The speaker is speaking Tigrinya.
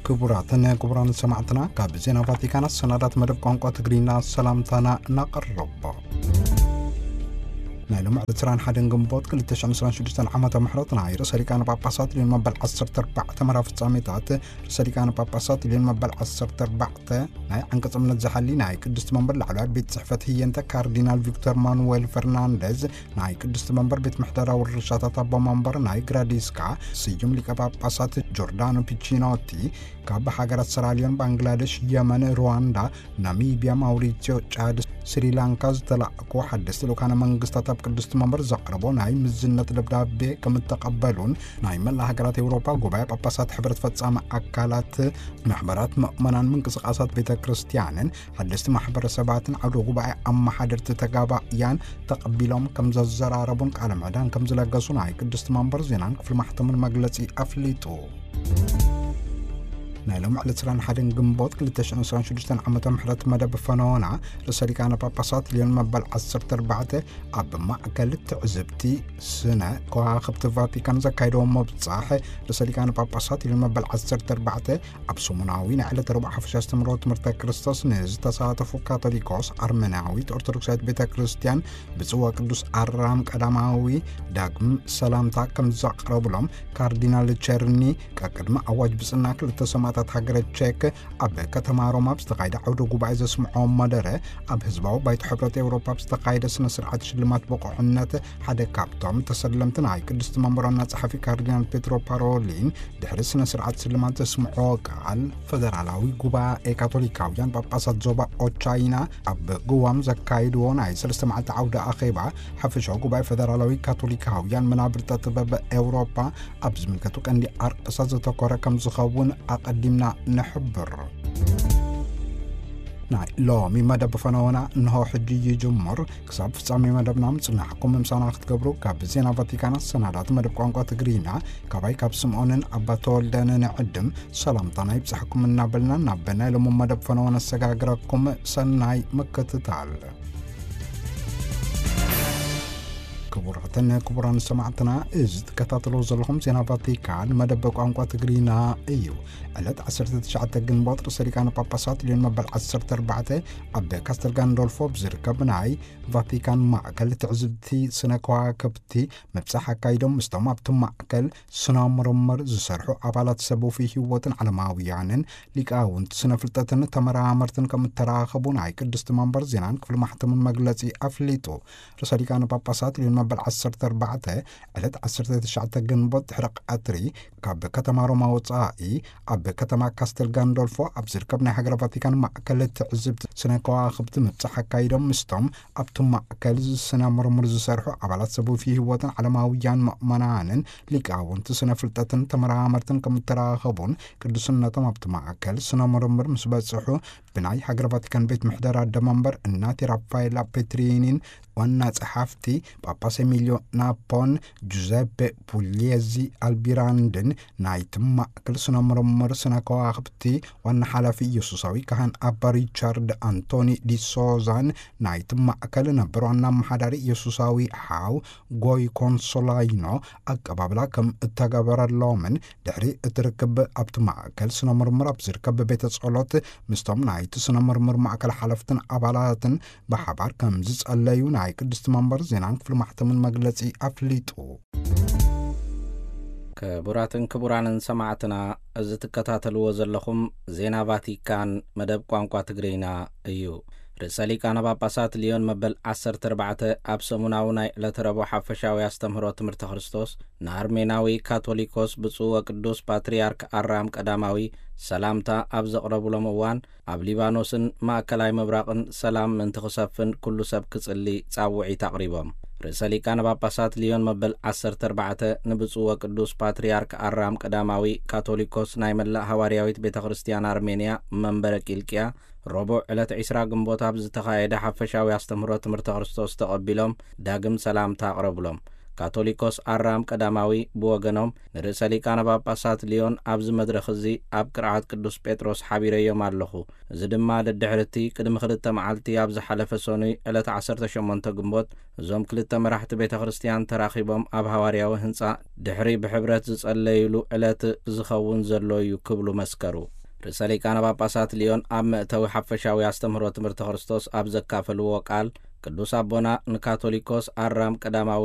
ክቡራትን ክቡራን ሰማዕትና፣ ካብ ዜና ቫቲካን ኣሰናዳት መደብ ቋንቋ ትግርኛ ሰላምታና እናቐረቦ። ናይ ሎሚ ዕለት ዕስራን ሓደን ግንቦት ክልተ ሽሕን ዕስራን ሽዱሽተን ዓመተ ምሕረት ናይ ርእሰ ሊቃነ ጳጳሳት ሊዮን መበል ዓሰርተ ኣርባዕተ መራ ፍጻሜታት፣ ርእሰ ሊቃነ ጳጳሳት ሊዮን መበል ዓሰርተ ኣርባዕተ ናይ ዓንቀጽ እምነት ዝሓሊ ናይ ቅድስቲ መንበር ላዕለዋይ ቤት ጽሕፈት ህየንተ ካርዲናል ቪክቶር ማኑዌል ፈርናንደዝ፣ ናይ ቅድስቲ መንበር ቤት ምሕደራ ውርሻታት ኣቦ መንበር ናይ ግራዲስካ ስዩም ሊቀ ጳጳሳት ጆርዳኖ ፒቺኖቲ፣ ካብ ሃገራት ሰራልዮን፣ ባንግላደሽ፣ የመን፣ ሩዋንዳ፣ ናሚብያ፣ ማውሪሲዮ፣ ጫድ፣ ስሪላንካ ዝተላእኩ ሓደስቲ ልኡካነ መንግስታት ኣብ ቅድስቲ መንበር ዘቕረቦ ናይ ምዝነት ደብዳቤ ከም እተቐበሉን፣ ናይ መላእ ሃገራት ኤውሮጳ ጉባኤ ጳጳሳት ሕብረት ፈጻሚ ኣካላት፣ ማሕበራት ምእመናን፣ ምንቅስቃሳት ቤተ ክርስቲያንን ሓደስቲ ማሕበረሰባትን ዓውደ ጉባኤ ኣመሓደርቲ ተጋባእያን ተቐቢሎም ከም ዘዘራረቡን ቃለ ምዕዳን ከም ዝለገሱ ናይ ቅድስቲ መንበር ዜናን ክፍሊ ማሕተምን መግለጺ ኣፍሊጡ። ናይ ሎም ዕለት ዕስራን ሓደን ግንቦት ክልተ ሽሕን ዕስራን ሽዱሽተን ዓመተ ምሕረት መደብ ፈነወና ርእሰ ሊቃነ ጳጳሳት ሊዮን መበል ዓሰርተ ኣርባዕተ ኣብ ማእከል ትዕዝብቲ ስነ ከዋኽብቲ ቫቲካን ዘካየደዎ ምብጻሕ፣ ርእሰ ሊቃነ ጳጳሳት ሊዮን መበል ዓሰርተ ኣርባዕተ ኣብ ሰሙናዊ ናይ ዕለተ ረቡዕ ሓፈሻ ኣስተምህሮ ትምህርተ ክርስቶስ ንዝተሳተፉ ካቶሊኮስ፣ ኣርመናዊት ኦርቶዶክሳዊት ቤተ ክርስቲያን ብጽዋ ቅዱስ ኣራም ቀዳማዊ ዳግም ሰላምታ ከም ዘቕረብሎም ካርዲናል ቸርኒ፣ ቀቅድሚ ኣዋጅ ብጽና ክልተ ሰማእታት ሃገረ ቼክ ኣብ ከተማ ሮማ ኣብ ዝተኻየደ ዓውደ ጉባኤ ዘስምዖ መደረ፣ ኣብ ህዝባዊ ባይቶ ሕብረት ኤውሮፓ ኣብ ዝተኻየደ ስነ ስርዓት ሽልማት ብቑዕነት ሓደ ካብቶም ተሰለምቲ ናይ ቅድስቲ መንበር ዋና ጸሓፊ ካርዲናል ፔትሮ ፓሮሊን ድሕሪ ስነ ስርዓት ሽልማት ዘስምዖ ቃል፣ ፈደራላዊ ጉባኤ ካቶሊካውያን ጳጳሳት ዞባ ኦቻይና ኣብ ጉዋም ዘካይድዎ ናይ ሰለስተ መዓልቲ ዓውደ ኣኼባ፣ ሓፈሻዊ ጉባኤ ፈደራላዊ ካቶሊካውያን መናብርተ ጥበብ ኤውሮፓ ኣብ ዝምልከቱ ቀንዲ ኣርእስታት ዘተኮረ ከም ዝኸውን ኣቐዲምና ንሕብር። ናይ ሎሚ መደብ ፈነወና እንሆ ሕጂ ይጅምር። ክሳብ ፍጻሜ መደብና ምጽናሕኩም ምሳና ክትገብሩ ካብ ዜና ቫቲካን ኣሰናዳት መደብ ቋንቋ ትግርኛ፣ ካባይ ካብ ስምዖንን ኣባ ተወልደን ንዕድም ሰላምታና ይብጻሕኩም እናበልና፣ ናብ ናይ ሎሚ መደብ ፈነወ ነሰጋግረኩም። ሰናይ ምክትታል። ክቡራትን ክቡራን ሰማዕትና፣ እዚ ትከታተልዎ ዘለኹም ዜና ቫቲካን መደብ ቋንቋ ትግርኛ እዩ። ዕለት ዓሰርተ ትሽዓተ ግንቦት ርእሰ ሊቃነ ጳጳሳት ሊዮን መበል ዓሰርተ ኣርባዕተ ኣብ ካስተል ጋንዶልፎ ኣብ ዝርከብ ናይ ቫቲካን ማእከል ትዕዝብቲ ስነ ከዋክብቲ ምብጻሕ ኣካይዶም፣ ምስቶም ኣብቲ ማእከል ስነ ምርምር ዝሰርሑ ኣባላት ሰብ ወፍይ ህይወትን ዓለማውያንን ሊቃውንቲ ስነ ፍልጠትን ተመራመርትን ከም እተራኸቡ ናይ ቅድስቲ መንበር ዜናን ክፍሊ ማሕተምን መግለጺ ኣፍሊጡ። ርእሰ ሊቃነ ጳጳሳት ሊዮን መበል ዓሰርተ ኣርባዕተ ዕለት ዓሰርተ ትሽዓተ ግንቦት ድሕሪ ቀትሪ ካብ ከተማ ሮማ ወጻኢ ኣብ ከተማ ካስተል ጋንዶልፎ ኣብ ዝርከብ ናይ ሃገረ ቫቲካን ማእከል ትዕዝብቲ ስነ ከዋኽብቲ ምብጻሕ ኣካይዶም፣ ምስቶም ኣብቲ ማእከል ስነ ምርምር ዝሰርሑ ኣባላት ሰብ ወፍይ ህይወትን ዓለማውያን ምእመናንን ሊቃውንቲ ስነ ፍልጠትን ተመራመርትን ከም እተራኸቡን፣ ቅዱስነቶም ኣብቲ ማእከል ስነ ምርምር ምስ በጽሑ ብናይ ሃገረ ቫቲካን ቤት ምሕደራ ኣደ መንበር እናቲ ራፋኤላ ፔትሪኒን ዋና ጸሓፍቲ ጳጳስ ኤሚልዮ ናፖን ጁዘፔ ፑሊየዚ ኣልቢራንድን ናይቲ ማእከል ስነ ምርምር ስነ ከዋኽብቲ ዋና ሓላፊ ኢየሱሳዊ ካህን ኣባ ሪቻርድ ኣንቶኒ ዲሶዛን ናይቲ ማእከል ነበር ዋና ኣመሓዳሪ ኢየሱሳዊ ሓው ጎይ ኮንሶላይኖ ኣቀባብላ ከም እተገበረሎምን፣ ድሕሪ እቲ ርክብ ኣብቲ ማእከል ስነ ምርምር ኣብ ዝርከብ ቤተ ጸሎት ምስቶም ናይቲ ስነ ምርምር ማእከል ሓለፍትን ኣባላትን ብሓባር ከም ዝጸለዩ ናይ ቅድስቲ መንበር ዜናን ክፍሊ ማሕተምን መግለጺ ኣፍሊጡ። ክቡራትን ክቡራንን ሰማዕትና፣ እዚ ትከታተልዎ ዘለኹም ዜና ቫቲካን መደብ ቋንቋ ትግርኛ እዩ። ርእሰ ሊቃነ ጳጳሳት ሊዮን መበል ዓሰርተ ኣርባዕተ ኣብ ሰሙናዊ ናይ ዕለተ ረቡዕ ሓፈሻዊ ኣስተምህሮ ትምህርቲ ክርስቶስ ንኣርሜናዊ ካቶሊኮስ ብፁዕ ወቅዱስ ፓትርያርክ ኣራም ቀዳማዊ ሰላምታ ኣብ ዘቕረቡሎም እዋን፣ ኣብ ሊባኖስን ማእከላይ ምብራቕን ሰላም ምእንቲ ክሰፍን ኩሉ ሰብ ክጽሊ ጻውዒት ኣቕሪቦም። ርእሰ ሊቃነ ጳጳሳት ሊዮን መበል ዓሰርተ ኣርባዕተ ንብፁዕ ወቅዱስ ፓትርያርክ ኣራም ቀዳማዊ ካቶሊኮስ ናይ መላእ ሃዋርያዊት ቤተ ክርስቲያን ኣርሜንያ መንበረ ቂልቅያ፣ ረቡዕ ዕለት ዕስራ ግንቦት ኣብ ዝተኻየደ ሓፈሻዊ ኣስተምህሮ ትምህርተ ክርስቶስ ተቐቢሎም ዳግም ሰላምታ ኣቕረብሎም። ካቶሊኮስ ኣራም ቀዳማዊ ብወገኖም ንርእሰ ሊቃነ ጳጳሳት ሊዮን ኣብዚ መድረኽ እዚ ኣብ ቅርዓት ቅዱስ ጴጥሮስ ሓቢረዮም ኣለኹ። እዚ ድማ ደድሕሪ እቲ ቅድሚ ክልተ መዓልቲ ኣብ ዝሓለፈ ሰኑይ ዕለት ዓሰርተ ሸሞንተ ግንቦት እዞም ክልተ መራሕቲ ቤተ ክርስቲያን ተራኺቦም ኣብ ሃዋርያዊ ህንጻ ድሕሪ ብሕብረት ዝጸለዩሉ ዕለት ዝኸውን ዘሎ እዩ ክብሉ መስከሩ። ርእሰ ሊቃነ ጳጳሳት ሊዮን ኣብ መእተዊ ሓፈሻዊ ኣስተምህሮ ትምህርቲ ክርስቶስ ኣብ ዘካፈልዎ ቃል፣ ቅዱስ ኣቦና ንካቶሊኮስ ኣራም ቀዳማዊ